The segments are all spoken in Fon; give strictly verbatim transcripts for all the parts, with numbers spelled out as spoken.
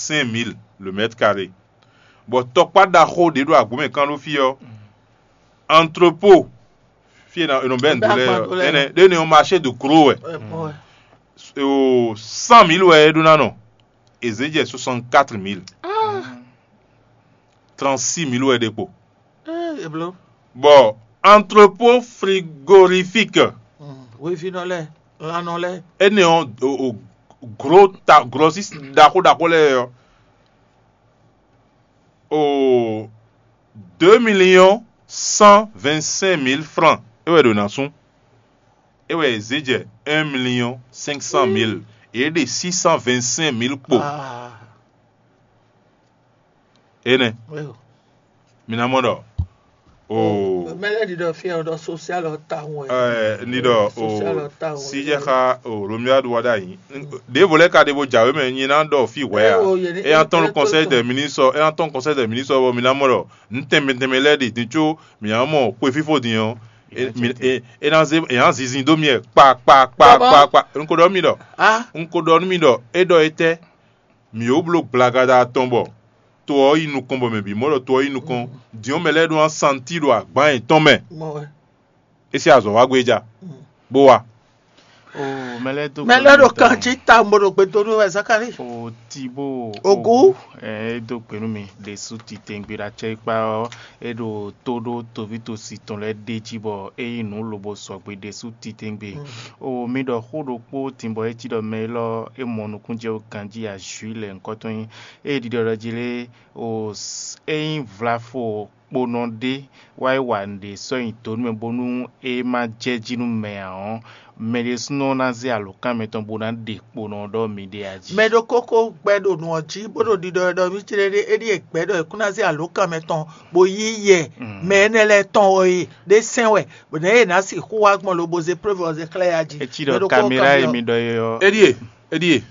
cinq mille le mètre carré. Bɔ tɔkpá ɖaxó ɖě ɖo agbǒmɛ kán ɖó fí ɔ́, entrepôt, fí e è nɔ bɛ́ nǔ dó lɛ́ɛ ɔ́, énɛ́ ɖé ne ɔ́ marché de gros wɛ. Cent mille wɛ é ɖó ná nɔ. È zě jɛ soixante-quatre mille. Trente-six mille wɛ ɖe kpo. Bɔ entrepôt frigorifique, hwevinɔ lɛ́ɛ, lannɔ lɛ́ɛ. Énɛ́ ɔ́, o, o, gros ta grossiste ɖaxó ɖaxó lɛ́ɛ ɔ́, o deux millions cent vingt-cinq mille francs é wɛ ɖo ná sún. É wɛ è zě jɛ un million cinq cent mille. Yě ɖe six cent vingt-cinq mille kpo. Énɛ́. Mi ná mɔ ɖɔ o mɛ lɛ́ɛ ɖi ɖɔ fí ɔ́ ɖɔ sosial ɔ́ tawun wɛ. Ɛɛ, ní ɖɔ o Sosial ɔ́ tawun wɛ. Si jɛ xa o Romia ɖu wa ɖ'ayǐ. Ɖěvo lɛ́ɛ ka ɖe bo jǎwe mɛ nyi ná ɖɔ fí hwɛ a. Éyɛ́ tɔn ɖo conseil des ministres, éyɛ́ tɔn conseil des ministres bɔ mi ná mɔ ɖɔ nǔ tɛnmɛ tɛnmɛ lɛ́ɛ ɖi din có mi ná mɔ xwe fífó din ɔ́. É ná zé é ná zinzin dó mi wɛ kpa kpa kpa kpa kpa. Un ko ɖɔ nú mi ɖɔ un ko ɖɔ nú mi ɖɔ é ɖɔ étɛ́? Mǐ ó bló gblagada tɔn bɔ to ɔ́ yi nukɔn bɔ mɛ bǐ mɔ ɖɔ to ɔ́ yi nukɔn. Din ɔ́, mɛ lɛ́ɛ ɖó ná santi ɖo agban yětɔn mɛ. É sí azɔ̌ wá gbé ja, bó wá. Mɛ lɛ́ɛ ɖo kan jí tawun bó ɖo gbe dó nú wɛ Zakali. O Tibo Ogu. Ɛ é dó gbe nú mi ɖésú titewungbe ɖo acɛkpá ɔ́, é ɖo tó ɖó toví tosi tɔn lɛ́ɛ ɖ'é jí bɔ é nyí nǔ lobo sɔgbe ɖésú titewungbe. O mi ɖɔ xó ɖokpó din bɔ é cí ɖɔ mɛ élɔ́ é mɔ nukúnjɛ ganjí azǔ lɛ nyǐkɔ tɔn nyí. Ée ɖiɖɔ ɖɔ jí lé, o é nyí vlafo kponɔ ɖé wá yi wa nǔɖé sɔ́ nyi dǒ nú mɛ bónú é má jɛ jí nú mɛ ǎ ɔ́, mɛ ɖésúnɔ ná zé alǒkan mɛtɔn bó ná ɖe kponɔ ɔ́ ɖɔ miɖée a jí. Mɛ ɖokókó gbɛ ɖo nǔ ɔ́ jí bó ɖo ɖiɖɔ wɛ ɖɔ mí céɖéɖé é ɖíe gbɛ̌ ɖɔ è kún ná zé alǒkan mɛtɔn bó yí yɛ mɛ énɛ́ lɛ́ɛ tɔn ɔ́ e ɖé sɛn wɛ, bɔ nɛ̌ è nǎ sixú wá gbɔn lobo zé preuve ɔ́ zé xlɛ́ yá jí. É cí ɖɔ Mɛ ɖokókó kamera kanbyɔ́. E mi ɖɔ é ɔ́. Éɖíe, éɖíe,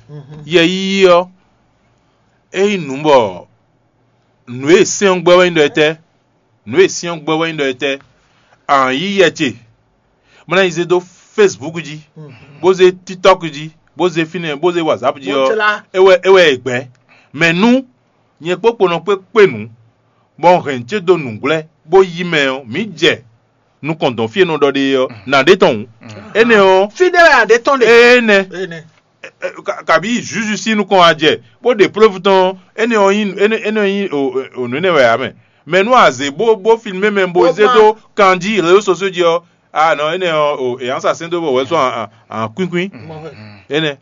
yɛ yíyí ɔ́, é nyí nǔ bɔ nǔ e sɛ́n ɔ́ gbɛ́ wɛ nyí ɖɔ étɛ́? Nǔ e sɛ́n ɔ́ gbɛ́ wɛ nyí ɖɔ étɛ́? Ǎn yí yɛ ce, bó ná yi zé dó Facebook jí, bó zé TikTok jí, bó zé fínɛ́, bó zé WhatsApp jí ɔ́, é wɛ é wɛ è gbɛ̌. Mɛ nú nyɛ kpó kponɔ kpé kpé nǔ, bɔ un hɛn ce dó nǔgblɛ́, bó yí mɛ ɔ́, mǐ jɛ nukɔn dɔn fí e nɔ ɖɔ ɖe é ɔ́, nǎ ɖe tɔn hǔn. Énɛ́ ɔ́, Fí ɖé wɛ a ɖe tɔn ɖe. Énɛ́. Ɛ, ɛ, ka- Kabi Zuzu sín nukɔn wá jɛ, bó ɖe plɔ́vu tɔn, énɛ́ ɔ́ nyí énɛ́ énɛ́ ɔ́ nyí o- o- nǔ énɛ́ wɛ ǎ mɛ. Mɛ nú a zě bó bó filmé mɛ bó zé dó kan jí réseaux sociaux jí ɔ́, a nɔ énɛ́ ɔ́ o è nǎ sa sɛ́n dó bɔ wɛ sɔ́ a- a- a kwínkwín. Énɛ́.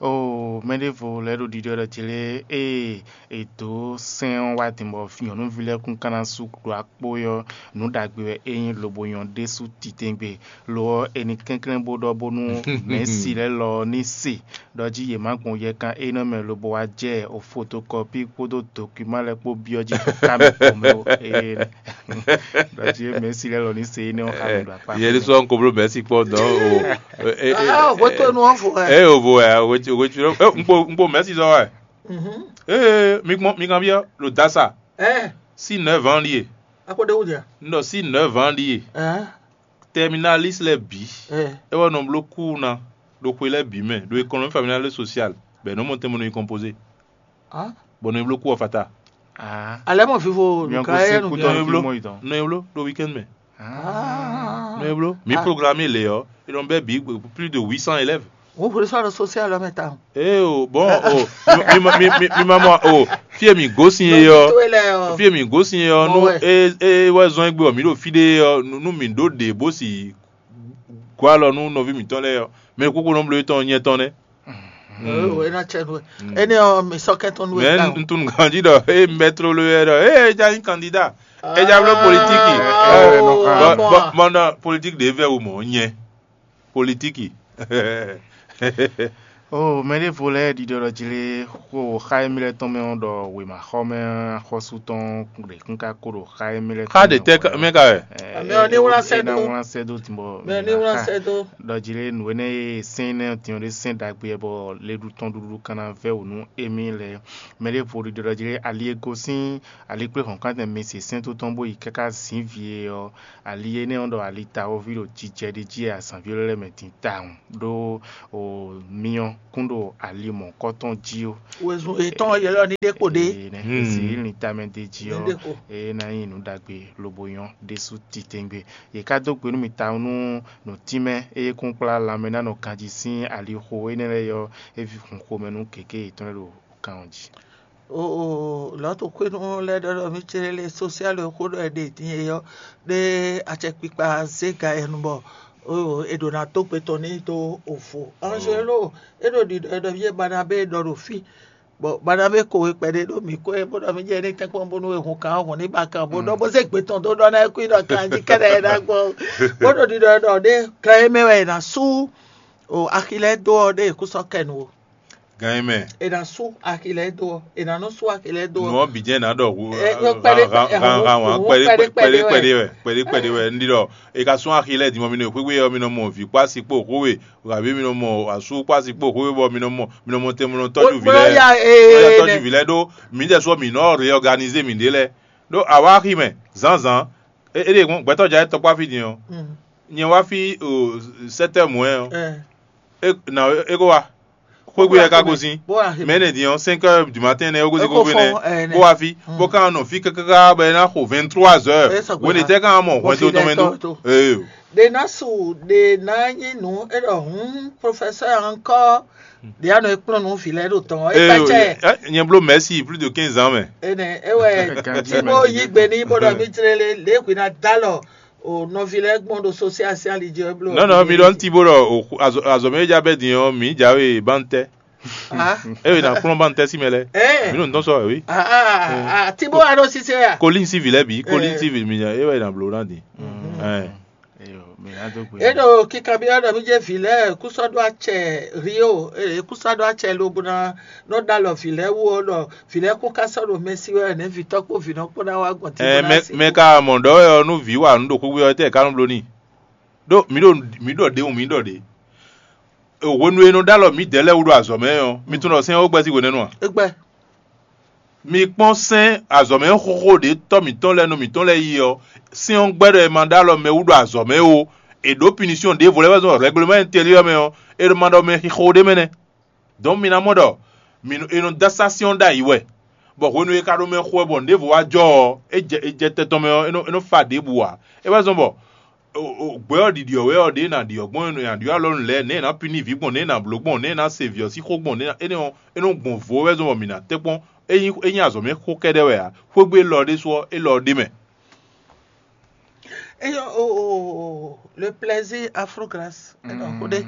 O mɛ ɖěvo lɛ́ɛ ɖo ɖiɖɔ ɖɔ ce lé ée è dǒ sɛ́n ɔ́ wá din bɔ nyɔ̌nuví lɛ́ɛ kún ka ná sú ɖo akpó ɔ́, nǔ ɖagbe wɛ é nyí lobo nyɔ́ ɖésú titewungbe. Lo ɔ́, è nǐ kɛnklɛ́n bó ɖɔ bónú mɛ̌si lɛ́ɛ lɔ ɔ́ ní se ɖɔ jí yě má gbɔn yɛkan énɛ́ mɛ lobo wá jɛ o fotokɔpí kpódó dokúman lɛ́ɛ kpó byɔ́ jí ɖo ká mɛ kpɔ́n mɛ o. Ee, ɖɔ jí mɛ̌si lɛ́ɛ lɔ ní se énɛ́ ɔ́ xá mi ɖo akpá. Yɛ ɖésú ɔ́ un ko bló mɛ̌si kpɔ́ dɔn o. Ah, hwetɔnu ɔ́ vo wɛ. Eye o vo wɛ, o hwe o hwe o un kpo un kpo mɛ̌si zɔ́n wɛ. Ee, mi kpɔn mi kanbyɔ́ ɖo dasa. Ɛ, Si neuf ans ɖíe. Akpɔ ɖe wú dia. Un ɖɔ si neuf ans ɖíe. Ɛ, Terminalis lɛ́ɛ bǐ. ɛ, É wɛ nɔ bló kú ná ɖo xwe lɛ́ɛ bǐ mɛ ɖo économie familiale et sociale bɔ è nɔ mɔ tɛn bɔ nɔ yi composé. ah. Bɔ nɔ yi bló kú ɔ́ fata. Ah, Alɛ mɔ vivo miɔ nùkà ko yɛ se nù kú bia. tɔn Nɔ yi fi bló mɔ yi tɔn. Nɔ yi bló ɖo weekend mɛ. Ah, Nɔ yi bló. Mi Ah. Programme lě ɔ́, ils ont bɛ bi plus de huit cents élèves. Wọ́n forí sọ̀rọ̀ social lọ́mọ táwọn. Eh o, bon, o, mi, mi, mi, mi, mi ma mɔ o, fie mi gosin ye ɔ, fie mi gosin ye ɔ, nu Ouais. e e wɛ zɔn egbe ɔ, mi ɖo fi ɖe ɔ, nu nu mi ɖo ɖe bó si gɔ alɔ nu nɔvi mitɔn lɛ ɔ, mɛ kókó nɔ blo etɔn nyɛ tɔn nɛ. Ena tsɛ nu. Ene ɔ mi sɔ kɛ tɔn nu. Mɛ ntun ganji dɔ e mɛtro lo yɛ dɔ e ja nyi kandida, e ja blo politiki. Ah, Bɔ bon. Bɔ bɔ na politiki de vɛ wo mɔ nyɛ politiki. Oh, mɛ ɖěvo lɛ́ɛ ɖiɖɔ ɖɔ jlé xo xa émí lɛ́ɛ tɔn mɛ ɔ́ ɖɔ wěmaxɔmɛ axɔ́sú tɔn ɖě kún ka ko ɖo xa émí lɛ́ɛ Xa ɖe tɛ mɛ ka wɛ? Mɛ ɔ́ ní wlá sɛ́ dó. Wlá sɛ́ dó tìbɔ Mɛ ní wlá sɛ́ dó. Ɖɔ jlé nǔ énɛ́ e sɛ́n énɛ́ ɔ́ din ɔ́ ɖé sɛ́n ɖagbe wɛ bɔ leɖu tɔn ɖuɖu kan ná vɛ́ wǔ nú émí lɛ́ɛ. Mɛ ɖěvo ɖiɖɔ ɖɔ jlé ali e gosín ali kplé hɔ̌nkántɛn mi se sɛ́n tó tɔn bó yi káká zǐn vǐ e ɔ́, ali énɛ́ ɔ́ ɖɔ ali tawɔví ɖo jijɛ ɖé jí e azǎnví lɛ́ɛ mɛ din tawun ɖó o myɔ kún ɖo ali mɔ̌kɔ́tɔn jí ó. Wezun yětɔn ɔ́ ylɔ́ ní ɖe kpo ɖé. Ee, nɛ Hmm. Zǐlin tamɛ d'é jí Ní ɔ́, ɖe kpo. Eye ná nyí nǔ ɖagbe lobo nyɔ́ ɖésú titewungbe. Yě ká dó gbe nú mi tawun nú nǔtínmɛ eye kún kplá lanmɛ ná nɔ ganjí sín alixo énɛ́ lɛ́ɛ ɔ́, é hun xomɛ nú gěgé yětɔn lɛ́ɛ ɖo kan ɔ́ jí. O o Lɔ̌tu xwénu lɛ́ɛ ɖɔ ɖɔ mí cé lé sosiali e xó ɖɔ è ɖe din é ɔ́, ɖé acɛkpikpa zé ga yɛ nu bɔ o è ɖǒ ná dó gbe tɔn n'i dó ovo. Angelo, é ɖo ɖiɖɔ ɖɔ mí Barnabé ɖɔ ɖo fí, bɔ Barnabé ko we kpɛɖé ɖó mǐ kó é bó ɖɔ mí jɛ ní tɛ́nkpɔ́n bónú è hun kan ɔ́ hɔn ní ba kan bó ɖɔ bó zé gbe tɔn dó ɖɔ ná é kú yi ɖɔ kan jí kɛ́ɖɛ́ é ná gbɔn. Bó ɖo ɖiɖɔ ɖɔ ɖé kan é mɛ wɛ è nǎ sú o axi lɛ́ɛ dó ɔ́ ɖé è kú sɔ́ kɛ nu o. Gan é mɛ. È nǎ sú axi lɛ́ɛ dó ɔ́, è nǎ nɔ sú axi lɛ́ɛ dó Nǔ ɔ́. Ɔ́ bǐ jɛ́n nǎ ɖɔ hu Ɛ, ɛ, kpɛɖé, ɛ, hu- hu- kpɛɖé hu- kpɛɖé kpɛɖé wɛ, wɛ. Kpɛɖé kpɛɖé wɛ. Ndí ɖɔ è ka sún axi lɛ́ɛ din mɔ mi nɔ xwéxwé ɔ́, mi nɔ mɔ vǐ kpó asi kpó xwé we, abǐ mi nɔ mɔ asú kpó asi kpó xwé we bɔ mi nɔ mɔ mi nɔ mɔ tɛnmɛ nɔ tɔ́jú vǐ Bóyá lɛ́ɛ. Ya Bóyá ee tɔ́jú nɛ. Vǐ lɛ́ɛ ɖó mi jɛ sɔ mi nɔ réɔganize mi ɖě lɛ́ɛ. Ɖó àwa axi mɛ zǎnzǎn. É é ɖe gbɛtɔ́ ja é tɔkpáví din ɔ́. Mm. Nyɛ wá fí o sɛtɛ́ mɔ̌ ɛ ɔ́. Ɛ. É na é kó wá. Xwégbé wɛ ká gosín. Bó wá xi mɛ. Mɛ énɛ́ din ɔ́, cinq heures du matin nɛ́ é gosín É kó xwégbé fɔ́n, nɛ́ ɛ, nɛ́. Bó wá fí. Mm. Bó ká nɔ fí káká bɔ é ná xo vingt-trois heures. É sɔgbe Wéne ná. Tɛ́ ká mɔ Bó hwɛndo fi tɔn mɛ lɛ dó. Tɔn tó. Ee. Ɖe ná su ɖe ná nyí nǔ é ɖɔ hǔn professeur encore ɖe á nɔ é kplɔ́n nú vǐ lɛ́ɛ ɖo tɔn ɔ́ é Ee, pɛ́ cɛ. Ɛ, nyɛ bló mɛ̌si plus de quinze ans mɛ. Ene é wɛ Ganjí tí bó mɛ. Yí gbe ní bó ɖɔ mí jlé lé lě hwi ná dó alɔ o nɔví lɛ́ɛ gbɔn ɖo sosial sín ali jí wɛ bló. Non non, mi ɖɔ ŋuti bó ɖɔ o xu- azɔ azɔ mɛ e ja bɛ din ɔ́, mi jawe bantɛ. Ah, Eye na kplɔn bantɛ si mɛ lɛ. Eh. Mi ɖo ŋutɔn sɔ wɛ wi. Ah, ah, ah, tí bó wà ɖo sísè à. Kolin si vi lɛ bi, kolin Eh. Si vi mi nya, e wɛ na blo na din. Mhm. Eh. Eyo, mi na do gbe. E ɖo kíkanbyɔ́ ɖɔ mí jẹ́ vǐ lɛ́ɛ kú sɔ́ ɖó acɛ Rio, e kú sɔ́ ɖó acɛ lobo ná nɔ ɖó alɔ vǐ lɛ́ɛ wú ɔ́ ɖɔ vǐ lɛ́ɛ kún ká sɔ́ ɖo mɛ sí wɛ nɛ̌ vǐtɔ́ kpó vǐnɔ kpó ná wá gbɔn tí Ɛ bó ná mɛ sí. Mɛ ka mɔ ɖɔ wɛ ɔ́ nú vǐ wa nǔ ɖo xwíxwí ɔ́ tɛ ká nɔ bló n'i. Ɖó mǐ ɖo mǐ ɖɔ ɖě wun mǐ ɖɔ ɖě. Hwenu e nɔ ɖó alɔ mǐdɛɛ lɛ́ɛ wú ɖo azɔ̌ mɛ ɔ́, mi tunwun ɖɔ sɛ́n ɔ́ gbɛ́ sín hwenɛ́nu a? É gbɛ́. Mi kpɔ́n sɛ́n azɔ̌ mɛ xóxó ɖě tɔ́ mǐtɔn lɛ́ɛ nɔ mǐtɔn lɛ́ɛ yi ɔ́, sɛ́n ɔ́ gbɛ́ ɖɔ è ma ɖó alɔ mɛ wú ɖo azɔ̌ mɛ ó. È ɖǒ pinisiyɔn ɖěvo lɛ́ɛ wɛ zɔn rɛgleman ɛntɛliyɔ́ mɛ ɔ́, è ɖo ma ɖɔ mɛ xixo ɖé mɛ nɛ́. Dɔn mi ná mɔ ɖɔ mi nɔ- è nɔ dó asá sɛ́n ɔ́ ɖ'ayǐ wɛ, bɔ hwenu e è ka ɖo mɛ xo wɛ bɔ nǔɖévo wá jɔ ɔ́, é jɛ è jɛ tɛn tɔn mɛ ɔ́, é nɔ é nɔ fa ɖěbǔ ǎ. É wɛ zɔ́n bɔ o- o- gbɛ ɔ́ ɖiɖi ɔ́ wɛ ɔ́, ɖě è nǎ ɖi ɔ́ gbɔn, è nǎ ɖyɔ́ alɔ nǔ lɛ́ɛ, nɛ̌ è nǎ píní vǐ gbɔn, nɛ̌ è nǎ blǒ gbɔn, nɛ̌ è nǎ se vǐ ɔ́ sín xó gbɔn, nɛ̌ è nɔ é nɔ gbɔn vo wɛ zɔ́n bɔ mǐ ná tɛ́nkpɔ́n. É nyí é nyí azɔ̌ mɛ xó kɛ́ɖɛ́ wɛ ǎ. Xwégbé élɔ́ ɖésú ɔ́, élɔ́ ɖ'é mɛ. Eyo o o o le plaisir Afro Grâce. Ɛnɔ ko ɖe.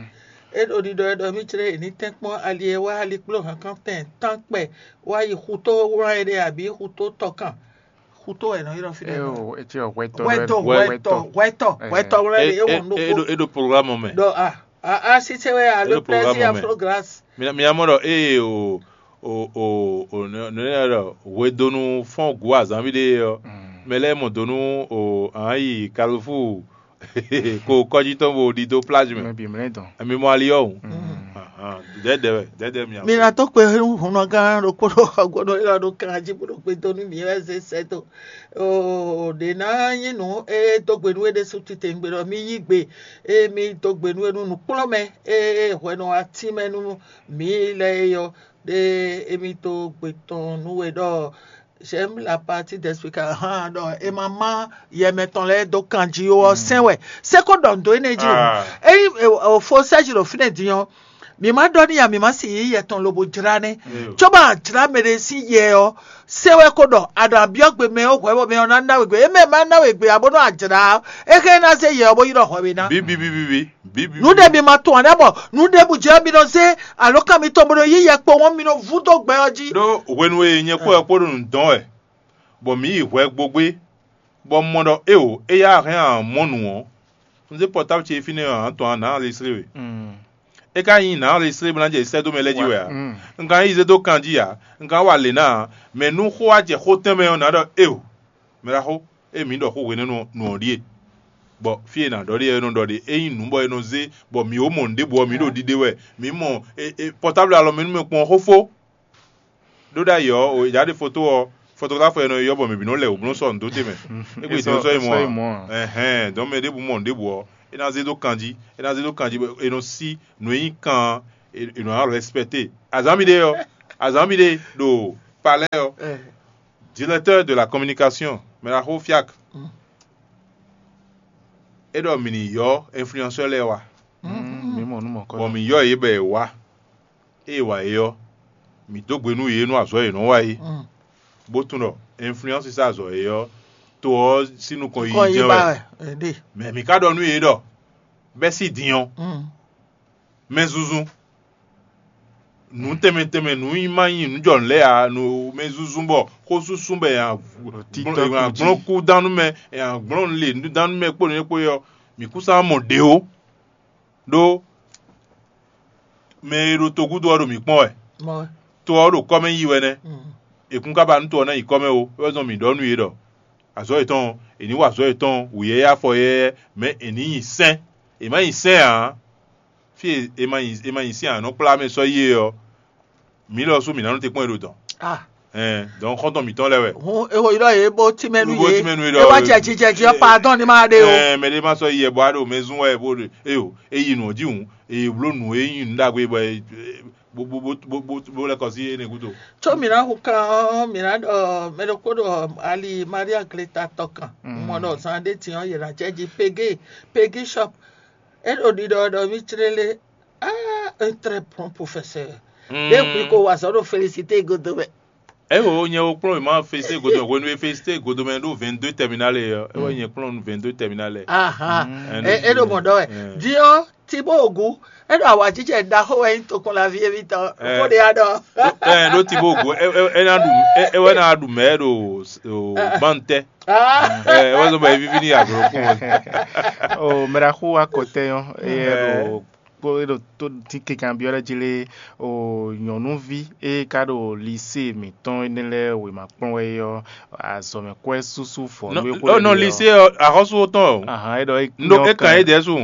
E ɖo ɖiɖɔ e ɖɔ mí jlé e ní tɛ́nkpɔ́n ali e wá ali kpló hankantɛn tán kpɛ wá yi xutó wlán e ɖe abǐ xutó tɔkan. Xutó wɛ nɔ ylɔ́ fínɛ́. Eo, etí ɔ hwɛtɔ Hwɛtɔ, hwɛtɔ, hwɛtɔ, hwɛtɔ wlán e ɖe e wɔn ɖokpó. E ɖo programme mɛ. Ɖɔ a a a sise wɛ a le plaisir Afro Grâce. Mina mina mɔ ɖɔ eye o o o o nɔ nɔ ɖɔ hwedonu fɔn gu azanvi ɖe ɔ mɛ lɛ mɔ donu o an yi Carrefour ko kɔji tɔn bo ɖi do plage mɛ. Mɛ bi mlɛ dɔn. Emi mɔ ali ɔ o. Dɛdɛ wɛ dɛdɛ mi. Mi na to kpe hunnɔgán ɖokpó ɖo ɔgbɔnɔ yɔrɔ ɖo kan jí bó ɖo gbe donu mi wɛ zé sɛ do. O ɖe ná nyí nǔ e dó gbe nú é ɖésú titewungbe ɖɔ mí yí gbe e mí dó gbe nú é nú nǔkplɔ́nmɛ e hwɛnɔ atín mɛ nú mǐ lɛ́ɛ é ɔ́, ɖe émí dó gbe tɔn nú we ɖɔ j'aime la partie d'explication hã ɖɔ é ma má yɛ mɛtɔn lɛ́ɛ dó kan jí ó ɔ́ sɛn wɛ. Seko ɖɔ nǔ dó énɛ́ jí o. Ényí fo sɛ́ jí ɖo fínɛ́ din ɔ́, mǐ ma ɖɔ n'i ǎ, mǐ ma si yǐ yɛ tɔn lobo jlá nɛ́. Cóbɔ a jlá mɛɖé sín yɛ ɔ́, se wɛ ko ɖɔ a ɖo abyɔ́ gbe mɛ ɔ́ hwɛ̌ bɔ mɛ ɔ́ ná ná we gbe. Émɛ ma ná we gbe ǎ bónú a jlá ɔ́, é hɛn ná zé yɛ ɔ́ bó yi ɖɔ hwɛ we ná. Bíbí bíbí bíbí. Nǔ ɖé mi ma tunwun ǎ ɖá bɔ nǔ ɖěbǔ jɛ ɔ́ mi nɔ zé alǒkan mitɔn bó nɔ yí yɛ kpowun mi nɔ vú dó gbɛ ɔ́ jí. Ɖó hwenu e nyɛ kpó wɛ kpó ɖo nǔ dɔn wɛ, bɔ mǐ yi hwɛ gbogbé, bɔ un mɔ ɖɔ éeǒ, éyɛ́ a hɛn a mɔ nǔ ɔ́, un zé pɔtáblu ce yi fínɛ́ ɔ́, a nǎ tunwun a nǎ enregistré we. É ka nyí nǎ enregistré bó ná jɛ sɛ́ dó mɛ lɛ́ɛ jí wɛ ǎ. Un ka nyí zé dó kan jí ǎ, un ka wa lě ná ǎ, mɛ nú xó wá jɛ xó tɛnmɛ ɔ́, nǎ ɖɔ éeǒ, mɛ ɖaxó, ée mǐ ɖɔ xó hwenɛ́nu nǔ ɔ́ ɖíe, bɔ fí e è nǎ ɖɔ ɖe ɔ́, é nɔ ɖɔ ɖe, é nyí nǔ bɔ è nɔ zé, bɔ mǐ ó mɔ nǔɖěbǔ ɔ́, mǐ ɖo ɖiɖe wɛ, mǐ mɔ pɔtáblu alɔ mɛ nú mɛ kpɔ́n xó fó. Ɖó ɖ'ayǐ ɔ́, o è jǎ ɖe foto ɔ́, fotografo e nɔ ylɔ́ bɔ mɛ bǐ nɔ lɛ wǔbló sɔ nǔ dó te mɛ. Égbé din ɔ́ sɔ́ yi mɔ ǎ. Ɛhɛn, dɔn mɛ ɖěbǔ mɔ nǔɖěbǔ ɔ́, é ná zé dó kanjí, é ná zé dó kanjí bɔ è nɔ sí nǔ e nyí kan Ils nous ont respecté. Azanmi ɖe ɔ́, azanmi ɖe ɖo palais ɔ́, directeur de la communication, mɛ la xo fiak. É ɖɔ mì ní yɔ influenceur lɛ́ɛ wá. Mi mɔ nú mɔ̌kɔ. Bɔn mì yɔ yě bɔ yě wá. Ée wǎ é ɔ́, mǐ dó gbe nú yě nú azɔ̌ e yě nɔ wa é, bó tunwun ɖɔ influence sín azɔ̌ é ɔ́, to ɔ́ sín nukɔn yiyi jɛ́n wɛ. Mɛ mǐ ka ɖɔ nú yě ɖɔ bɛ́ sí din ɔ́, mɛzúnzún, nǔ tɛnmɛ tɛnmɛ, nǔ nyi ma nyi nǔ jɔ nǔ lɛ́ɛ ǎ, nǔ mɛzúnzún bɔ xó súsú bɔ è nǎ gblɔ́n kúdánú mɛ, è nǎ gblɔ́n le dánú mɛ kpó nǔ é kpó é ɔ́, mǐ kún sán mɔ ɖě ó. Ɖó mɛ e ɖo togúdo ɔ́ ɖo mǐ kpɔ́n wɛ. To ɔ́ ɖo kɔ́ mɛ yi wɛ nɛ́. È kún ka ba nú to ɔ́ ná yi kɔ́ mɛ ó. É wɛ zɔ́n mǐ ɖɔ nú yě ɖɔ azɔ̌ yětɔn ɔ́, è nǐ wa azɔ̌ yětɔn wǔyɛ́yɛ́ afɔ yɛ́yɛ́, mɛ̌ è nǐ nyi sɛ́n. È má nyi sɛ́n ǎ. Fí e è ma nyi è ma nyi sɛ́n ǎ, nɔ kplá mɛ sɔ́ yi é ɔ́, mǐ lɔ sú mǐ ná nɔ te kpɔ́n e ɖo dɔ̌n. Ɛn, dɔ̌n xɔ́ntɔn mǐtɔn lɛ́ɛ wɛ. Hǔn è xo yi ɖɔ yě bó tímɛ nú Bó yě. Tímɛ nú yě É ɖɔ wá jɛ jijɛ jí ɔ́, pardon ní ma ɖe o. Ɛn, mɛ ɖé má sɔ́ yi yɛ bɔ á ɖo mɛ zún wɛ bó ɖe. Eyo, é yi nǔ ɔ́ jí hǔn, è bló nǔ e nyí nǔ ɖagbe bɔ é- bó bó bó bó bó bó lɛ́ kɔ sí énɛ́ gúdo. Có mǐ ná hu kan ɔ́, mǐ ná ɖɔ mɛ ɖokpó ɖo ali Maria Gleta tɔ kan. Mɔ ɖɔ zan ɖé din ɔ́, yě ná jɛ jí Pegé Pegé shop. É ɖo ɖiɖɔ ɖɔ mí clélé. Ah, un très bon professeur. Ɖé hwi ko wa azɔ̌ ɖo félicité godo mɛ. Eho nyɛ wo kplɔ́n ma félicité godo mɛ hwenu e félicité godo mɛ ɖó vingt-deux terminal ɔ́, é wɛ nyɛ kplɔ́n vingt-deux terminal. Ahan. É ɖo mɔ ɖɔ wɛ. Diɔ Tibo Ogu, é ɖo awǎjijɛ ɖaxó wɛ nyí tokpɔnlaví émítɔn. Xó ɖé ya ɖɔ. Ɛ ɖó Tibo Ogu, é ná ɖu é wɛ ná ɖu mɛ ɖo bantɛ. Ɛ wɛ zɔ bɔ é víví ní aglo kún. O mɛ ɖaxó wa kɔtɛ yɔn, é ɖo kpó é ɖo tó dín kekan byɔ́ ɖɔ jí lé o nyɔ̌nuví e ka ɖo lisée mǐtɔn énɛ́ lɛ́ɛ wěma kplɔ́n wɛ é ɔ́, azɔ̌mɛkwɛ́ súsú vɔ̌nu e xó. Nɔ lisée ɔ́, axɔ́sú tɔn o. Ahan, é ɖɔ é Ndo é kàn é dɛ̌ su.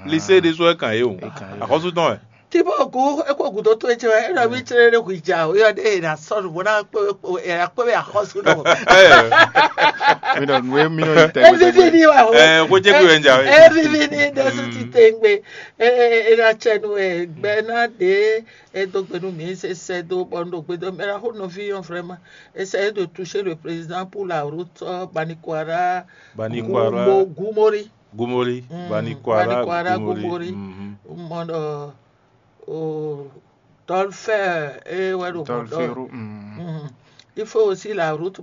Lisée ɖésú é kàn é o. Axɔ́sú tɔn wɛ. Tibo gu é kó gǔdo tó é cɛ wɛ é ɖɔ mí clé ɖé hu ja o yɔ ɖé è nà sɔ́ nǔ bó ná kpé é ná kpé axɔ́sú nɔ. Mi ɖɔ nǔ e mi nɔ yi tɛ. Evivi ni wa o. Ɛ kó jẹ́ kí wɛ ń jà wɛ. Evivi ni ɖésú ti tɛngbé. Ena cɛ nu ɛ gbɛ na ɖe e do gbe nu mi se sɛ do bɔ nu ɖo gbe do mɛ la xo nɔvi yɔn vraiment. Essayer de toucher le président pour la route Banikwara. Banikwara. Gumori. Gumori. Banikwara. Gumori. Mɔ ɖɔ o tɔlfɛ e wɛ ɖo mɔ ɖɔ. Il faut aussi la route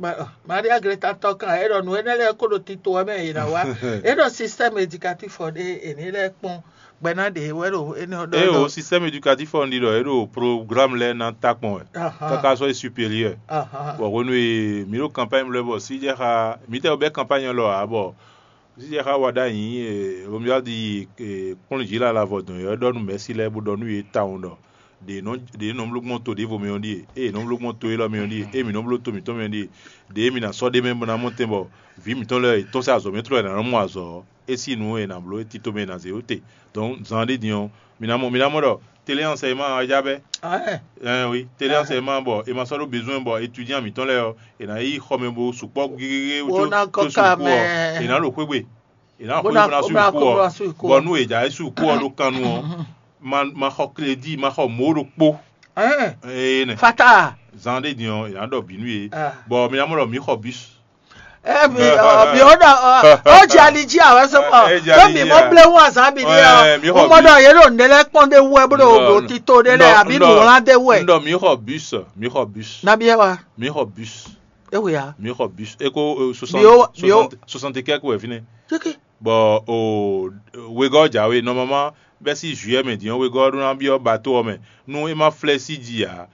Maria Greta tɔkan e ɖɔ nu énɛ́ lɛ́ɛ kó ɖo tito ɔ́ mɛ è nǎ wá. E ɖɔ système éducatif ɔ́ ɖe èní lɛ́ɛ kpɔn gbɛná ɖe wɛ ɖo énɛ́ ɔ́ ɖɔ. E o système éducatif ɔ́ ɖi ɖɔ e ɖo programme lɛ́ɛ ná ta kpɔn wɛ. Káká sɔ́ yi supérieur. Bɔ hwenu e mǐ ɖo campagne lɛ́ɛ bɔ síjɛxa mǐtɛɛ bɛ campagne lɔ ǎ bɔ síjɛxa wa ɖ'ayǐ Romuald yi kplɔ́n jǐ lala vɔ dɔn yɔ é ɖɔ nú mɛ̌si lɛ́ɛ bó ɖɔ nú yě tawun ɖɔ ɖě nɔ ɖě nɔ bló gbɔn to ɖěvo mɛ ɔ́ ɖíe, ée nɔ bló gbɔn to élɔ́ mɛ ɔ́ ɖíe, ée mǐ nɔ bló to mǐtɔn mɛ ɔ́ ɖíe, ɖě mǐ ná sɔ́ ɖ'é mɛ bó ná mɔ tɛn bɔ vǐ mǐtɔn lɛ́ɛ è tɔ́n sín azɔ̌ mɛ tlɔ́ è nǎ nɔ mɔ azɔ̌ ɔ́, é sín nǔ e è nǎ bló é tito mɛ è nǎ zě ó te. Dɔn zan ɖé din ɔ́, mi ná mɔ mi ná mɔ ɖɔ téléansɛyɛma ɔ́ já bɛ́. Ɛn wi, téléansɛyɛma bɔ è ma sɔ́ ɖó bezwɛn bɔ étudian mǐtɔn lɛ́ɛ ɔ́, è nǎ yi xɔmɛ bo sukpɔ́ gégé Bó ná kɔ tó ka suku mɛ. Ɔ́, è nǎ ɖo xwé gbe. È nǎ Bó xwé ná- bó ná bó ná suku kó ɔ́, bó ná suku ɔ́. Bɔ nú è jǎ é suku ɔ́ ɖó kan nu ɔ́, ma ma xɔ klédi, ma xɔ mǒ ɖokpó. Ɛn, Ee nɛ. Fata. Zan ɖé din ɔ́, è nǎ ɖɔ bǐ nú yě. Ah. Bɔ mi ná mɔ ɖɔ mǐ xɔ bus. Emi ɔ mi ɔ ɖɔ ɔ ɔ jɛ ali jí awɛ sɔ mɔ Ɛ jɛ tó ali mi jí mɔ a. Blé wu azan bi ni Ɛ, mi ɔ xɔ wọ́n mɔ bi. Ɖɔ yé ɖo ǹdɛ lɛ kpɔn ɖé wu ɛ bó ɖo Nɔ- ɖo tito ɖé lɛ Nɔ- àbí Nɔ- nùwlán ɖé wu ɛ. Nɔ mi xɔ bus, mi xɔ bus, Nabi ɛ wa mi xɔ bus, ewu ya. Mi xɔ bus. Eko euh, soixante, Bio- bio- soixante, soixante quelques wɛ fine. Kéké. Bon, o wegɔ jawe normalement bɛ si juillet mɛ diɔ wegɔ ɖo na biɔ bateau ɔ mɛ. Nu e ma flɛ si ji a.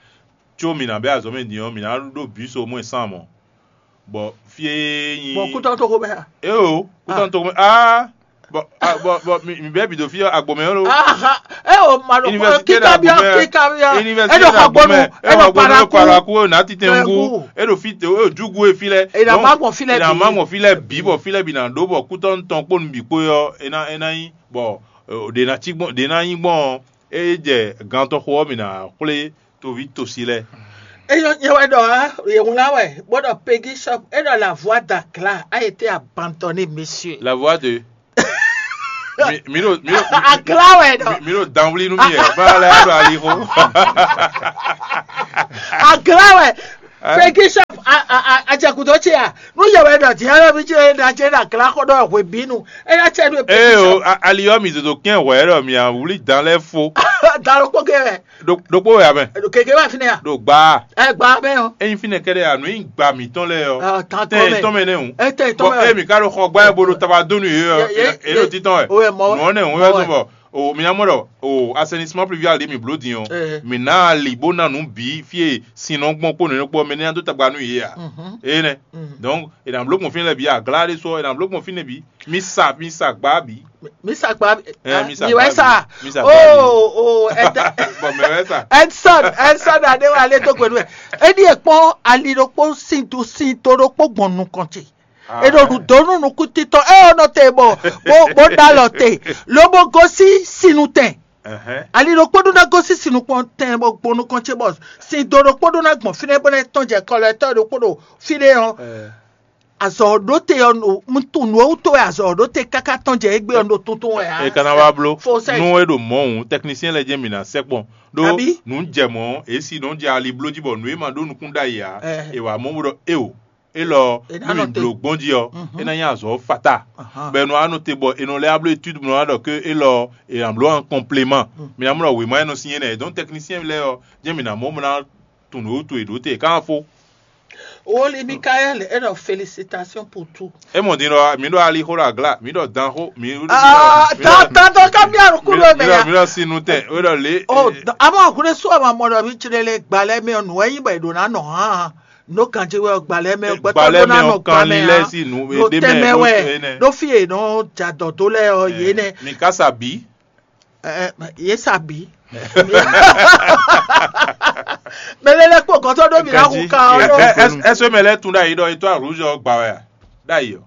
Tso mi na bɛ azɔ mɛ diɔ mi na ɖo bus au moins cent mɔ. Bɔ fie nyi Bɔn kútɔ tó ko bɛ. Eo kútɔ tó ko aa bɔ a- bɔ bɔ mi mi bɛ bi do fi agbɔmɛ lo. Aha, e o ma ɖo Université kíkà bí d'Agbomɛ. Kíkà bí Université e ɖo xɔ gbɔnu d'Agbomɛ. E e ɖo xɔ gbɔnu paraku. Paraku o na titɛ ŋu. E ɖo fi te o jugu e fi lɛ. E na ma gbɔn fi lɛ E na bi. Ma gbɔn fi lɛ bi bɔ fi lɛ bi na ɖo bɔ kútɔ ntɔn kpó nu bi kpó yɔ e na e na nyi bɔ ɖe na ci gbɔn ɖe na nyi gbɔn e jɛ gantɔ xo ɔ mi na xwlé toví tosi lɛ. Eyɔ nyɛ wɛ ɖɔ á yě wlán wɛ bó ɖɔ Peggy Shop é ɖɔ la voix d'Aglà a été abandonnée, monsieur. La voix de Mi ɖo mi ɖo Aglá wɛ ɖɔ. Mi ɖo danwli nú mi yɛ. Bá lɛ ɖo ali xo. Aglá wɛ. Peggy shop ajɛkudo ce ya. Nu yɛ wɛ ɖɔ diɛ lɔ mi ce na ce na glá xɔ ɖɔ hwe binu. Eya cɛ ɖo Ee o, ali ɔ́ mi zozo kɛn hwɛ ɖɔ mi awuli dan lɛ fo. Da lɔ kpɔ kɛ wɛ. Ɖokpó wɛ amɛ. Keke wɛ fi nɛ ya. Ɖo gba. Ɛ gba mɛ o. Eyin fi nɛ kɛɖɛ anu yin gba mitɔn lɛ ɔ. Tan Tɛ kɔ mɛ. Tɔn mɛ nɛ o. Ɛ tɛ tɔn Bɔn mɛ. Emi ka ɖo xɔ gba yɛ bo ɖo taba dó nu yě ɔ. Yě ɖo títɔn wɛ. O wɛ mɔ. Nǔ ɔ́ nɛ òun wɛ zɔn bɔ o mi nya mɔ ɖɔ o assainissement pluvial ɖě mi bló din ɔ́. Mi ná ali bó ná nǔ bǐ fí e sin nɔ gbɔn kpó nǔ kpó mɛ ní ná dó tagba nú yě a. Eye nɛ. Donc e nǎ bló gbɔn fínɛ́ lɛ́ɛ bǐ aglá ɖé sɔ́ e nǎ bló gbɔn fínɛ́ bǐ. Mi sa mi sa gbá bǐ. Mi sa gba. Ɛ, mi sa Mi gba wɛ sa. mi sa Oh oh. Bɔn mɛ wɛ sa. Edson Edson aɖe wa lé dó gbenu ɛ. Eɖi ekpɔn ali ɖokpó sin to sin to ɖokpó gbɔn nukɔn ce. Eɖo ɖu donu nukutitɔ eye nɔ te bɔ bó bó ɖalɔ te lobo gosi sinu tɛn. Ɛhɛn. Ali ɖokpó ɖó ná gosi sinu kpɔn tɛn bɔ gbɔn nukɔn ce bɔ sin do ɖokpó ɖó ná gbɔn fínɛ́ bó ná tɔn jɛ kɔlɔ ɛtɔ ɖokpó ɖo fínɛ́ ɔ. Ɛ. Azɔ ɖó te ɔ nu tuntu nǔ ɔ́ wútu wɛ azɔ ɖó te káká tɔn jɛ égbé ɔ ɖo tuntun wɛ ǎ. E kana wa bló Fo sɛ. Nu e ɖo mɔ òun technicien lɛ jɛn mi na sɛkpɔn ɖó Abi? Nu jɛ mɔ esi nɔ jɛ ali bló jí bɔ nu e ma ɖó nukún ɖ'ayǐ ǎ. Ɛ. E wa mɔ bó ɖɔ eo. Elɔ E ná nu mi nɔ te. Bló gbɔn jí ɔ. Mhm. E na nyí azɔ fata. Ahan. Bɛ nu anɔ te bɔ e nɔ lɛ ablo etude nɔ ɖɔ ke elɔ e na bló en complément. Mi na mɔ ɖɔ wěma e nɔ sin yé nɛ donc technicien lɛ ɔ jɛn mi na mɔ mɔ na tun ɖo to e ɖo te kan fo. Woli Mikael e ɖɔ félicitation pour tout. E mɔ din ɖɔ mi ɖɔ ali xo ɖo agla mi ɖɔ dan xo mi. Ah, tan tan tan ka mi aru kulo Mi mɛ ɖɔ ya. Mi ɖɔ sinu tɛ o ɖɔ le. Oh, ama akure su ama mɔ ɖɔ mi tsire le gbalɛ mɛ nu eyi bɔ eɖo na nɔ hã. No kan tsi wɛ gbalɛ mɛ gbɛtɔ Gbalɛ ɖo na mɛ nɔ ɔ kan gbalɛ li ya. lɛ si nu No ede tɛmɛ mɛ wɛ ene. Ɖo fi e nɔ dza dɔ do lɛ ɔ ye nɛ. Mi kasa bi. Ɛ, ye sa bi. Mɛ lɛ lɛ kpɔ gɔtɔ ɖo mi na hu ka ɔ ɖo. Ɛsɛ mɛ lɛ tun ɖe ayi ɖɔ etɔ aruzɔ gba wɛ a ɖe ayi ɔ.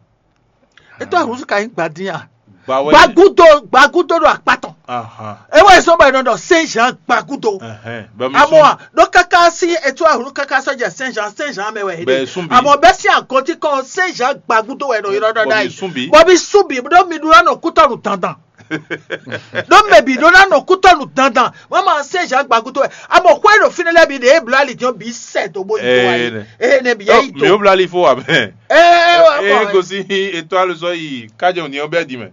Etɔ aruzɔ ka nyi gbadin a. Gba wɛ. Gbagudo gbagudo ɖo akpatɔ. Ahan. Ewɔ esɔ bɔ enɔ dɔ Saint Jean gbagudo. Ɛhɛn. Bɛ mi Amɔ sun. A ɖo kaka si etu ahlu kaka sɔdze Saint Jean Saint Jean mɛ wɛ Bɛ sun bi. Amɔ bɛ si agɔnti kɔn Saint Jean gbagudo wɛ nɔ yɔrɔ dɔ Bɔ da mi yi. Sun bi. Bɔ mi sun bi ɖo mi ɖo nɔ kutɔnu dandan. Ɖo mɛ bi ɖo na nɔ kutɔnu dandan. Mama Saint Jean gbagudo wɛ. Amɔ xɔ ɖo fine lɛ bi ɖe ebla ali jɔn bi sɛ do bo yi do wa Ee, yi. ne. Ee ne bi yɛ yi Mi wo do. Bla li fo wa mɛ. Ee E wa gosi etɔ aluzɔ yi kajɛ òní ɔbɛ di mɛ.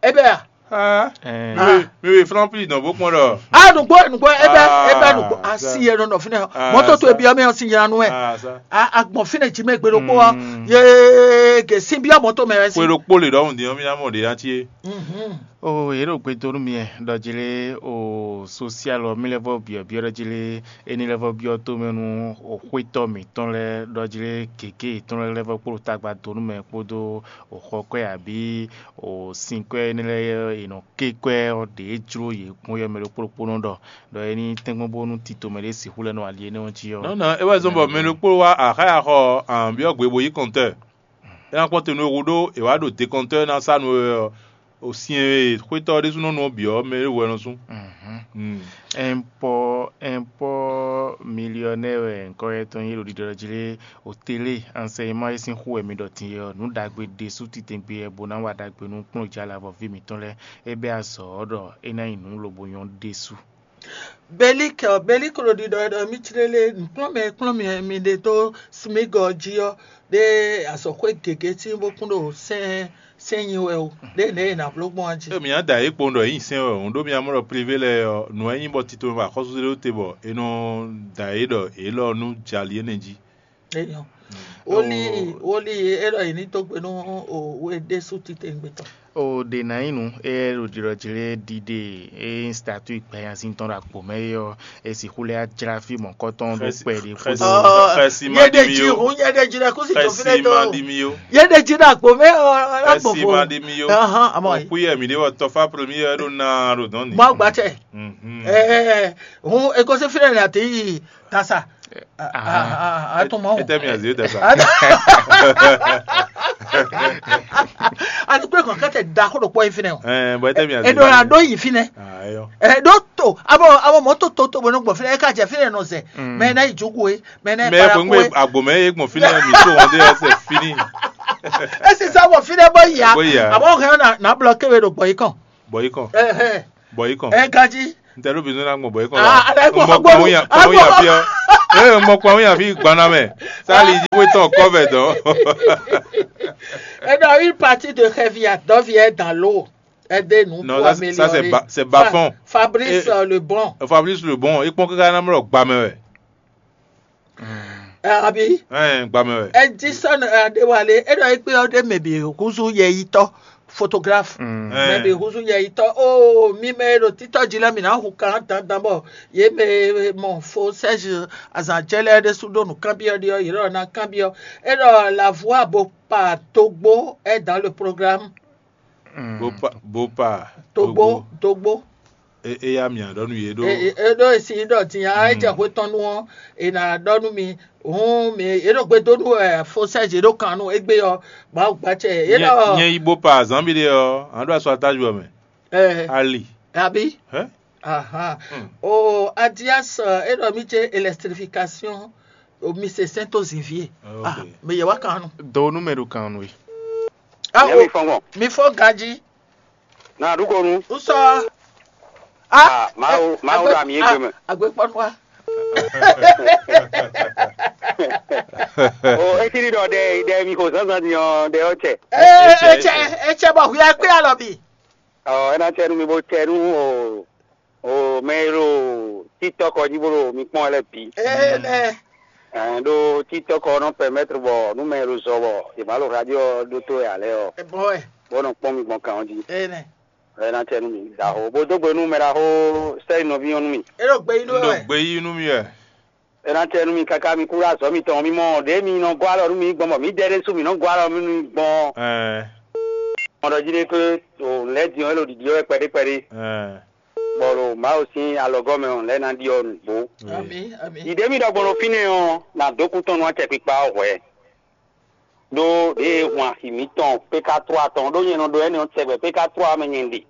Ebe ya. Ah. Ɛn, Mi we mi we flan pli dɔn bó kpɔn ɖɔ. A nugbo nugbo ebe ebe Ah, nugbo sa. Asi yɛ nɔ nɔ fine. Ah, Mɔtɔ to sa. Ebi ɔmɛ ɔsi yɛ nu ɛ. Ah, sa. Agbɔn fine dzi mɛ gbe ɖokpo wa. Mm. Ye ke si bi ɔmɔ to mɛ wɛ si. Kwe ɖo kpó le ɖɔ òun di ɔmí amɔ ɖe ya tie. Mhm. O yě ɖo gbe dó nú mi ɖɔ jí lé o sosial ɔ́, mí lɛ́ vɔ byɔ̌byɔ́ ɖɔ jí lé éní lɛ́ vɔ byɔ́ tómɛ nú o xwétɔ́ mǐtɔn lɛ́ɛ ɖɔ jí lé gěgé yětɔn lɛ́ɛ lɛ́ vɔ kpó ɖo tagba dó nú mɛ kpódó o xɔ kwɛ́ abǐ o sin kwɛ́ énɛ́ lɛ́ɛ e è nɔ ké kwɛ́ ɔ́ ɖě jló yě gbɔn yɔ mɛ ɖokpó ɖokpónɔ ɖɔ ɖɔ é ní tɛ́nkpɔ́n bónú tito mɛ ɖé sixú lɛ́ nɔ ali énɛ́ ɔ́ jí ɔ́. Non non, é wɛ zɔ́n bɔ mɛ ɖokpó wá axáya xɔ ahǎn byɔ́ gbe bo yí kɔntɔ́. É ná kpɔ́n te nú e hú ɖó è wǎ ɖo dekɔntɔ́ ná sá nú we ɔ́, o sin e xwétɔ́ ɔ́ ɖésúnɔ nú ɔ́ bǐ ɔ́, mɛ ɖěvo wɛ nɔ sú. Mhm. Ɛnpɔ ɛnpɔ miliyɔnɛ wɛ ŋkɔ yɛ tɔn nyí ɖo ɖiɖɔ jí lé o télé ansɛyinmá e sín xú wɛ mi ɖɔ din é ɔ́, nǔ ɖagbe ɖésú titɛngbé wɛ bó ná wa ɖagbe nú kplɔ́njálabɔví mǐtɔn lɛ́ɛ. É bɛ́ azɔ̌ ɔ́ ɖɔ é ná nyí nǔ lobo nyɔ́ ɖésú. Belik ɔ Belik ɖo ɖiɖɔ ɖɔ mí tlélé nǔkplɔ́nmɛ e kplɔ́n mi mi ɖe dó smigɔ jí ɔ́ ɖé azɔ̌xwé gěgé tín bó kún ɖo sɛn sɛn nyi wɛ o ɖé nɛ̌ è nǎ bló gbɔn a jí. Emi nya da yě kpowun ɖɔ yě nyi sɛn wɛ o ɖó mi nya mɔ ɖɔ privé lɛ́ɛ ɔ́, nǔ wɛ nyí bɔ tito mɛ axɔ́súzé ɖó te bɔ è nɔ da yě ɖɔ yě lɔ nú jali énɛ́ jí. Eyɔn. Woli woli e ɖɔ yě ní dó gbe nú o we ɖésú titewungbe tɔn. O ɖe ná nyí nǔ e ɖo ɖiɖɔ jí lé ɖiɖe e nyí statui gbɛnyasin tɔn ɖo agbo mɛ é ɔ́, e sixú lɛ́ jlá fí mɔ̌kɔtɔn ɖó kpɛɖé kpódó. Xɛsi ma Yé ɖi ɖe mi jí yo. hun yé ɖe jí ɖe kú sí tó fi Xɛsi ɖe tó. Ma ɖi mi yo. Yé ɖe jí ɖe agbo mɛ ɔ Xɛsi agbofo. Ma ɖi mi yo. Ahan amɔ Òkú yɛ mi ɖe wɔ tɔfa premier ɖo na ɖo dɔn ni. Mɔ agbatsɛ. Mhm. Ɛɛ hun ekosi fi ɖe na ti yi tasa. Atɔmɔ. Ete mi azi da sa. Alikpe kan kɛtɛ da ko ɖo kpɔ yi fi nɛ o. Ɛɛ bɔ ete mi azi. Eɖo la ɖo yi fi nɛ. Ayɔ. Ɛ ɖo to abɔ abɔ mɔ to to to bɔ ne gbɔ fi nɛ eka jɛ fi nɛ nɔ zɛ. Mɛ na yi jogo ye mɛ na yi Mɛ para ko ko ye. Ŋgbe agbomɛ ye gbɔn fi nɛ mi to wɔn de ɛsɛ fini. Esi sa wɔ fi nɛ bɔ ya. Bɔ ya. Abɔ hɛn na na blɔ kewe ɖo gbɔ yi kɔn. Bɔ yi kɔn. Ɛhɛn. Bɔ yi kɔn. Ɛ ganji. N tɛ ɖo bizɔn na gbɔn bɔ yi kɔn Ah, la. ala gbɔ N gbɔ gbɔ kpɔn ya kpɔn ya fi ɔ. Ee, n gbɔ kpɔn ya fi gbana mɛ. Sali yi wé tɔn kɔ vɛ dɔ. Et dans une partie de Revia, Dovia est dans l'eau. Aidez-nous Non, pour ça, c'est- ça, c'est améliorer. Ba- c'est Bafon. Fa- Fabrice Et- euh, Lebon. Fabrice Lebon, il prend que Ghana mɛ lɔ gbamɛ wɛ. Euh, Abi, Ɛn, gbamɛ wɛ. Edison Adewale, et dans une période, maybe, Kuzu Yeyito, photographe. Mm. Ɛn. Maybe Kuzu Yeyito, oh, mi me ɖo títɔ jí lɛ mi ná hu kan dandan bɔ ye me mɔ fo Serge azan jɛ lɛ ɖe su ɖo nǔ kanbyɔ ɖi ɔ, yě ɖɔ ná kanbyɔ. Et dans la voix beau pas Togbo est dans le programme. Bopa bopa. Togbo, Togbo. E e ya mia ɖɔ nu ye ɖo. E e ɖo esi ɖɔ din a e jɛ hwe tɔn nu ɔ, e na ɖɔ nu mi. Hun mi e ɖo gbe do nu ɛ fo Serge e ɖo kan nu egbe ɔ, Mawu gba cɛ e Nyɛ ɖɔ. nyɛ yi bopa zanbi ɖe ɔ, an ɖo asu atajɔ mɛ. Ɛ Ali. Abi. Hɛ? Ahan. Hmm. O Adias ɛ, e ɖɔ mi ce électrification o mi se sɛn to zinvie. Ok. Ah, mi yɛ wa kan nu. Do nú mɛ ɖo kan nú we. Ah, Nyɛ o mi fɔn gbɔn. Mi fɔ ganji. Na ɖu ko nu. N sɔ. Ah, Mawu- Mawu ɖo ami égbé mɛ. Agbe kpɔnu wa. O etini ɖɔ ɖe ɖe mi xo zazan din ɔ ɖe ɔ cɛ. Ee, etsɛ etsɛ bɔ huya kpe alɔ bi. Ɔ ena cɛ nu mi bo cɛ nu o o mɛ e ɖo TikTok ɔ dzi bó ɖo mi kpɔn lɛ bi. Ee nɛ. Ɛn ɖo TikTok ɔ nɔ permettre bɔ nu mɛ e ɖo zɔ bɔ e ma ɖo radio ɔ ɖótó wɛ alɛ ɔ Ebɔn wɛ. bó nɔ kpɔn mi gbɔn kan ɔ dzi. Ee nɛ. Ena cɛ nu mi ɖaxo bo dó gbe nu mɛ ɖaxo sɛyi nɔví ɔn nu mi. E ɖo gbe yi ɖo N ɖo wɛ. gbe yí nú mi wɛ. Ena cɛ nu mi kaka mi kú ɖo azɔ mitɔn mi mɔ ɖe mi nɔ gɔ alɔ nu mi gbɔn bɔ mi dɛ ɖe su mi nɔ gɔ alɔ nu mi gbɔn. Ɛn. Mɔ ɖɔ jí ɖe ke o lɛ din ɔ e ɖo ɖiɖi ɔ wɛ kpɛɖé kpɛɖé. Ɛn. Bɔ ɖo Mawu sín alɔgɔ́ mɛ ɔ lɛ́ ná ɖi ɔ nǔgbó. Ami ami. Yi ɖě mì ɖɔ gbɔn ɖo fínɛ́ ɔ́, nǎ dó kú tɔn nú acɛkpikpa ɔ́ hwɛ̌. Ɖó ɖěe hun axi mǐtɔn péka tló atɔn ɖó nyɛ nɔ ɖo énɛ́ ɔ́ tɛgbɛ péka tló ɔ́ mɛ nyɛ ɖe.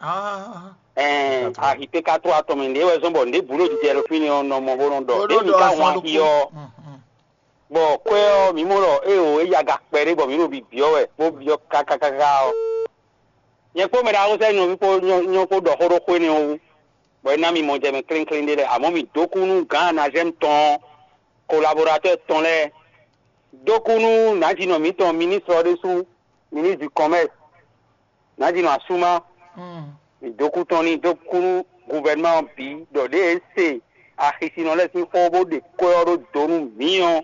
Ah. Ɛɛ axi péka tló atɔn mɛ ɖě wɛ zɔ́n bɔ ɖěbǔ ɖo jijɛ ɖo fínɛ́ ɔ́ nɔ mɔ bó nɔ ɖɔ Bó ɖě nɔ mǐ ɖɔ ka azɔn hun axi ɖokpó. ɔ́. Mhm. Bɔ kwɛ́ ɔ́ mǐ mɔ ɖɔ éeǒ é yi aga kpɛɖé bɔ mǐ ɖo bibyɔ́ wɛ bó byɔ́ kákákáká ɔ́. Nyɛ kpó mɛ ɖaxó sɛ́ nɔví kpó nyɔ́ kpó ɖɔ xó ɖó xó énɛ́ ɔ́ wú, bɔ é ná mi mɔ jɛ mɛ klínkín ɖé lɛ́ɛ, amɔ̌ mǐ dó kú nú gǎn Anazɛ́mu tɔn ɔ́, kolabɔratɔ́ tɔn lɛ́ɛ, dó kú nú nǎjínɔ mǐtɔn ministre ɔ́ ɖésú, ministre du commerce, nǎjínɔ Asúmá, Mm. mǐ dó kú tɔn n'i dó kú nú guvɛrnuma ɔ́ bǐ ɖɔ ɖěe é se axisinɔ lɛ́ɛ sín xó bó ɖe kwɛ́ ɔ́ ɖó do nú mǐ ɔ́,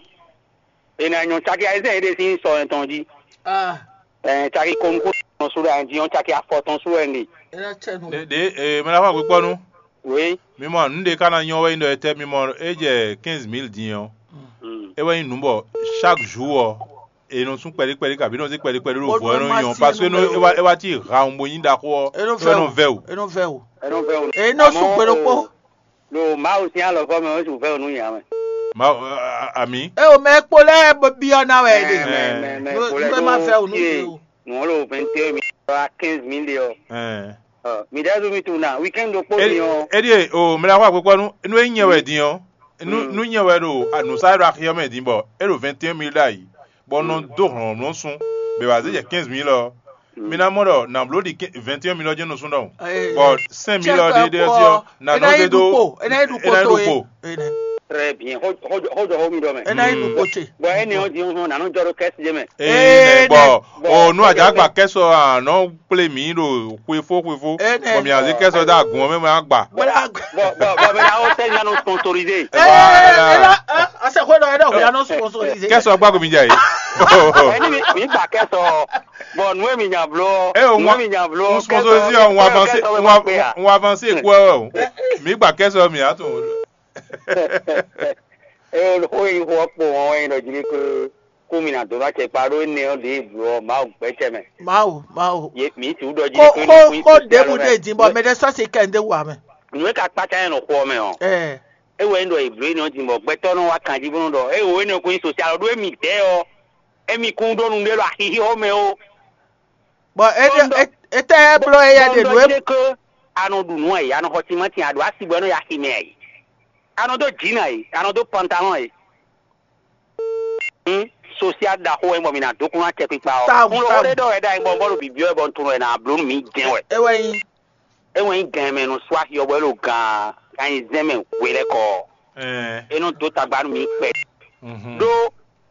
è nǎ nyɔ́ caki ayizɛ́n yěɖée sín sɔ tɔn jí. Ah. Ɛɛ caki kɔnukú tɔn sú ɖo ayi jí ɔ́, caki afɔ tɔn sú wɛ un ɖe. E na cɛ nu. Ɖe ɖe ee mɛ na xɔ agbekpɔnu. Oui. Mi mɔ nu ɖe ka na nyɔ wɛ nyi ɖɔ etɛ mi mɔ e jɛ quinze mille din ɔ́. Mm. E wɛ nyi nu bɔ chaque jour ɔ́ e nɔ sún kpɛɖí kpɛɖí kabi nɔ sí kpɛɖí kpɛɖí ɖo Bó vɔ e nɔ nɔ ma nyɔ sí parce que nú e mɛ wa o. E wa ti ha ohun bo nyi ɖaxó ɔ́ E nɔ e wɛ nɔ vɛ vɛ o. o. E nɔ vɛ o. Ɛnɔ vɛ o. E nɔ sún kpe ɖokpó. Lo Mawu sín alɔgɔ́ mɛ ó sún vɛ o nú nya mɛ. Ma a- a- ami. E o mɛ kpo lɛ bɔ bi ɔ na wɛ de. Mɛ mɛ mɛ Nú- kpo lɛ nú ɛ má vɛ o nú tie ɖe o. nǔ ɔ́ lo vingt et un mille à quinze mille ɖe ɔ. Ɛɛ. Ɔ, mi ɖɛ́ zú mi tunwun na weekend ɖokpó mi ɔ. Eɖie o mɛ na xɔ agbekpɔnu nu e nyɛ wɛ din ɔ́. Nu Mm. nu nyɛ wɛ ɖo anusa ɖo axi ɔ́ mɛ din bɔ e ɖo vingt et un mille ɖ'ayǐ bɔ nɔ dó hlɔ̌nhlɔ́n sún bɛ wá zé jɛ quinze mille ɔ́. Mi ná mɔ ɖɔ nǎ bló ɖi vingt et un mille ɔ́ jɛ́n nɔ sún ɖɔhun. Bɔ cinq mille ɔ́ ɖe ɖe ɔ́ sí ɔ́ nǎ nɔ zé dó E ná yi ɖu kpo e nɛ. Très bien. Xɔjɔ xɔjɔ xɔmi ɖɔ mɛ. E ná yi ɖu kpo ce. Bɔn ɛni ɔ́ di ɔ́ nǎ nɔ jɔ ɖo kɛsi jɛ mɛ. Ee Ee, bɔ bɔ- o nu àjàgbà kẹsọ àná kplé mi ɖo xwefó xwefó Ee, nɛ. Bɔ mi àzé kẹsọ dá gùn ɔ́ mɛ mɛ àgbà. Bɔla. Bɔn bɔn bɔn mi na o sɛli na nɔ sponsorisé. Ee, e la ase xwe dɔ e dɔ ya nɔ sponsorisé. Kẹsọ gbàgbé mi jà yìí. Ɛni mi mi gba kɛsɔ. Bɔn nu mi nya blo. Ɛ o Nu ŋwa mi nya blo. n sponsorisé ɔ ŋwa avancé ŋwa avancé kú ɛ o. Mi gbà kẹsọ mi àtún. Eye xó yi xó kpo wọn wɛ nyi ɖɔ jí ko kú mi na dó ná cɛ kpa ɖó énɛ́ ɔ́ ɖě bló ɔ́ Mawu gbɛ́ cɛ mɛ. Mawu, Mawu. Ye mi tu ɖɔ jí Ko ko ko énɛ́ ko kó ɖebu mɛ. ɖe din bɔ mɛ ɖe sɔ si kɛ nde wa mɛ. Nu e ka kpata yẹn nɔ xó ɔ́ mɛ ɔ́. Ɛ E wɛ nyi ɖɔ Eblu énɛ́ ɔ́ din bɔ gbɛtɔ́ nɔ wá kan jí bó nɔ ɖɔ e wo énɛ́ ko nyi sosial ɖó émi dɛ́ ɔ́. Émi kún ɖó nu ɖé ɖo axixi ɔ́ mɛ ó. Bɔn e ɖe e- e tɛ blɔ eya ɖe Bɔn nu ɖɔ e. jí ko a nɔ ɖu nǔ ɛ, a nɔ xɔ timáti, a ɖo asi bɔ ɛ nɔ yi axi mɛ ɛ. A nɔ dó jǐnà ɛ, a nɔ dó pantalon ɛ. Hum, Asyá ɖaxó wɛ nyí bɔ mi ná dó kúnnu acɛkpikpa ɔ́. Tawu, Kúnnu tawu. Xóɖé ɖɔ wɛ ɖ'ayǐ bɔ bɔ́ ɖo bǐbí wɛ bɔ un tunwun wɛ ná bló nú mǐ jɛ́n wɛ. É wɛ nyí. É wɛ nyí gɛn mɛ nú sú axi ɔ́ bɔ é ɖo gan gan nyi zɛ́n mɛ hwe lɛ́ɛ kɔ ɔ́. Ɛɛ. É nɔ dó tagba nú mǐ kpɛ. Mhm. Ɖó